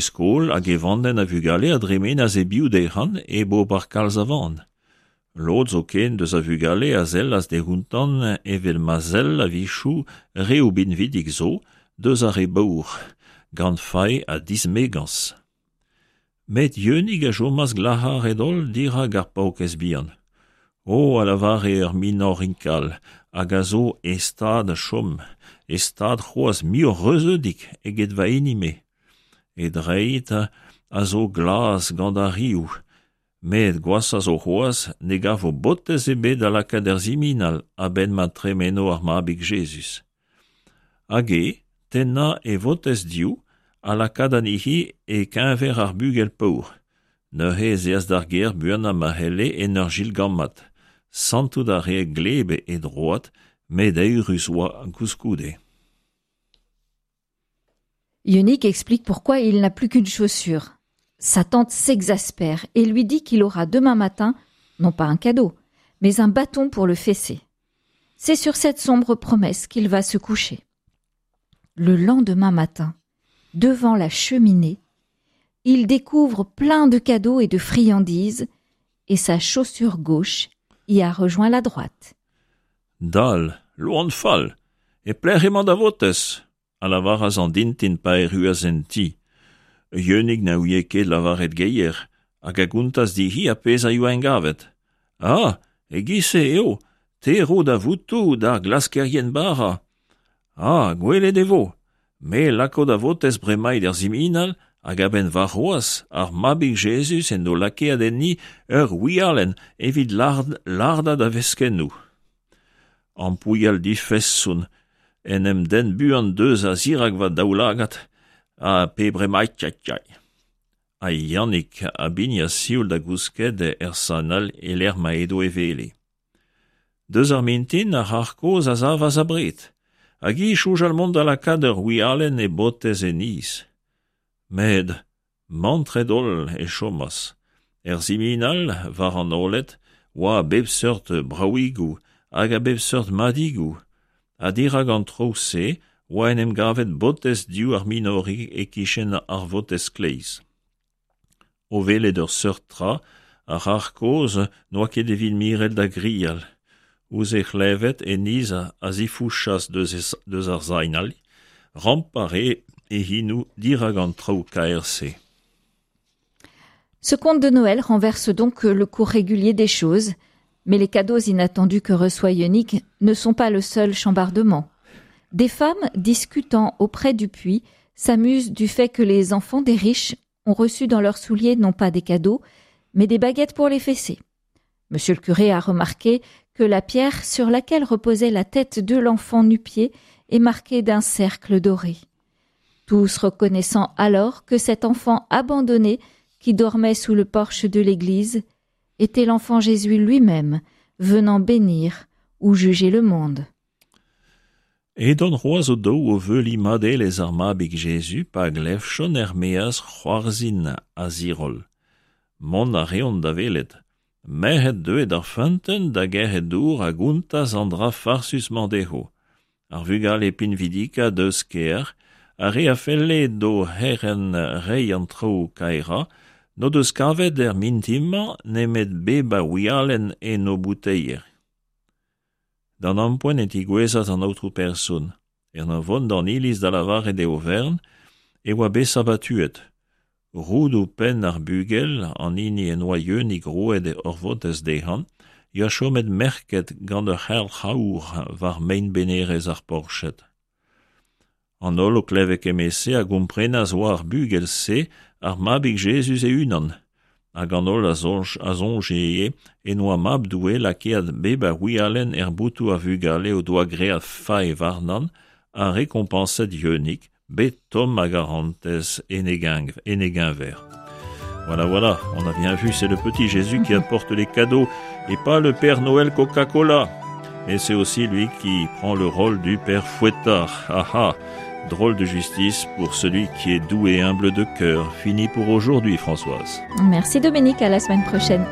skol hag e vandenn a vugale a dremenas e-biou dezhan hep ober kalz a van. Lod zoken deus a vugale a sellas dehountan evel ma sell a-wechoù reoù binvidik zo deus ar re baour, gant fae ha dismegañs. Met Yeunig a chomas glac'haret-holl dirak ar paourkaezh bihan. O, a lavare ur minorig all hag a zo e stad chom, e stad c'hoazh muioc'h reuzeudik eget va hini-me. E dreid a zo glas gant ar riv, met gwashañ zo c'hoazh ne gavo botez ebet da lakaat er siminal a-benn ma tremeno ar Mabig Jezuz. Hag e tennañ e votez div ha lakaat anezhi e-keñver ar bugel paour. Neuze ez eas d'ar gêr buanañ ma c'helle en ur jilgammat. Santout a rae gleb e droad, met eürus oa koulskoude. Yeunig explique pourquoi il n'a plus qu'une chaussure. Sa tante s'exaspère et lui dit qu'il aura demain matin, non pas un cadeau, mais un bâton pour le fesser. C'est sur cette sombre promesse qu'il va se coucher. Le lendemain matin, devant la cheminée, il découvre plein de cadeaux et de friandises et sa chaussure gauche y a rejoint la droite. Dal, loan fall, e pelec'h emañ da votez a lavaras an dintin pa erruas en ti. Yeunig na ouie ket lavaret geier hag a gontas dezhi ar pezh a yoa engavet. Ah, e-giz-se eo, te ro da votoù d'ar glaskerien bara. Ah, gwelet e vo. Me lako da votez bremaik er siminal hag a-benn warc'hoazh ar Mabig Jezuz en do lakaet enni ur wialenn evit lard lardañ da veskennoù. Ampouilhal difeson en em denn buan deus a-zirak va daoulagad ha pe bremaik Ha Yannig a bignas sioul da gousket er sanal e-lec'h ma edo e wele. Deus ar mintin ar c'harr kozh a savas abred, hag hi soñjal mont da lakaat ur wialenn e botez e niz. Met Mantret-holl e chomas. Er siminal, war an oaled, oa a bep seurt bravigoù hag a bep seurt madigoù, ha dirak an traoù-se oa en em gavet botez div ar minorig e-kichen ar votez kleiz. O welet ur seurt tra, ar c'harr kozh n'oa ket evit miret da grial. Ouzh he c'hlevet, e niz a zifouchas deus ar sainal, rampañ a rae e c'henoù dirak an traoù kaer-se. Ce conte de Noël renverse donc le cours régulier des choses, mais les cadeaux inattendus que reçoit Yeunig ne sont pas le seul chambardement. Des femmes discutant auprès du puits s'amusent du fait que les enfants des riches ont reçu dans leurs souliers non pas des cadeaux, mais des baguettes pour les fesser. Monsieur le curé a remarqué que la pierre sur laquelle reposait la tête de l'enfant nu-pied est marquée d'un cercle doré. Tous reconnaissant alors que cet enfant abandonné qui dormait sous le porche de l'église était l'enfant Jésus lui-même venant bénir ou juger le monde. Edont c'hoazh o-daou o veuliñ madelezh ar Mabig Jezuz pa glevjont er-maez c'hoarzhin ha ziroll. Mont a reont da welet. Merc'hed deuet d'ar feunteun da gerc'hat dour a gontas an dra farsus-mañ dezho. Ar vugale pinvidikañ deus kêr, ar re a felle d'o c'herent reiñ an traoù kaerañ, n'o deus kavet er mintin-mañ nemet bep a wialenn en o bouteier. D'an ampoent e tigouezhas an aotrou person. En ur vont d'an iliz da lavaret e oferenn e oa bet sabatuet. Roudoù penn ar bugel, an hini en doa Yeunig roet ur votez dezhañ, yoa chomet merket gant ur c'helc'h aour war mein-benerezh ar porched. An holl o klevet kement-se a gomprenas oa ar bugel-se ar Mabig Jezuz e-unan, hag an holl a soñj a soñje ivez en oa Mab Doue lakaet bep a wialenn er botoù ar vugale o doa graet fae warnan ha rekompañset Yeunig, bet tomm a garantez en e en e geñver. Voilà, voilà, on a bien vu, c'est le petit Jésus qui apporte les cadeaux et pas le Père Noël Coca-Cola. Et c'est aussi lui qui prend le rôle du Père Fouettard. Ah ah, drôle de justice pour celui qui est doux et humble de cœur. Fini pour aujourd'hui, Françoise. Merci Dominique, à la semaine prochaine.